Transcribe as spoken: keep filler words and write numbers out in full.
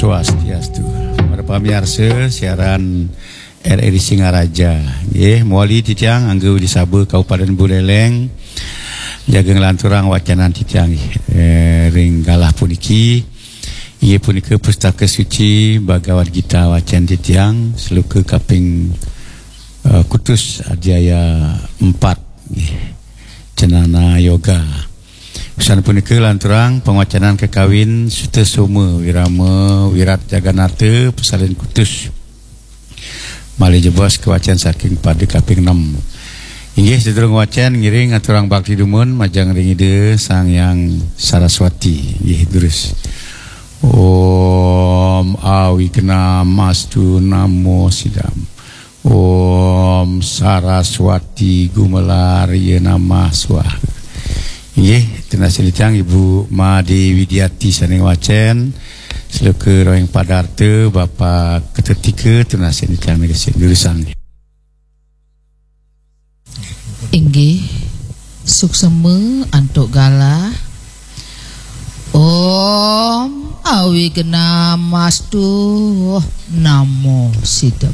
Swastiastu. Para pamiarsa siaran R R I Singaraja. Nggih, mawali titiang Angga Widisaba Kabupaten Buleleng. Jaga nglanturang wacanan titiang, eh, ring galah puniki. Inggih punika Pustaka Suci Bhagavad Gita wacen titiang, sloka kaping, eh, kutus adhyaya empat. Nggih. Candana Yoga. Usan punika lanturang pangwacanan kakawin Sutasoma Wirama Wirat Jagannatha pasalin kutus. Malih jebos kawacen saking pada kaping enam. Inggih, sadurung wacen ngiring aturang bakti dumun majeng ring Ida Sang Hyang Saraswati. Inggih, durus. Om Awignamastu Namo Sidam. Om Saraswati Gumelarya Namah Swaha. Inggih, tunas titiang Ibu Made Widiati sane wacen, sloka rohing padarta, Bapak Ketetika, tunas titiang nika sing durusang. Inggih, suksema antuk galah. Om Awignamastu Namo Sidam.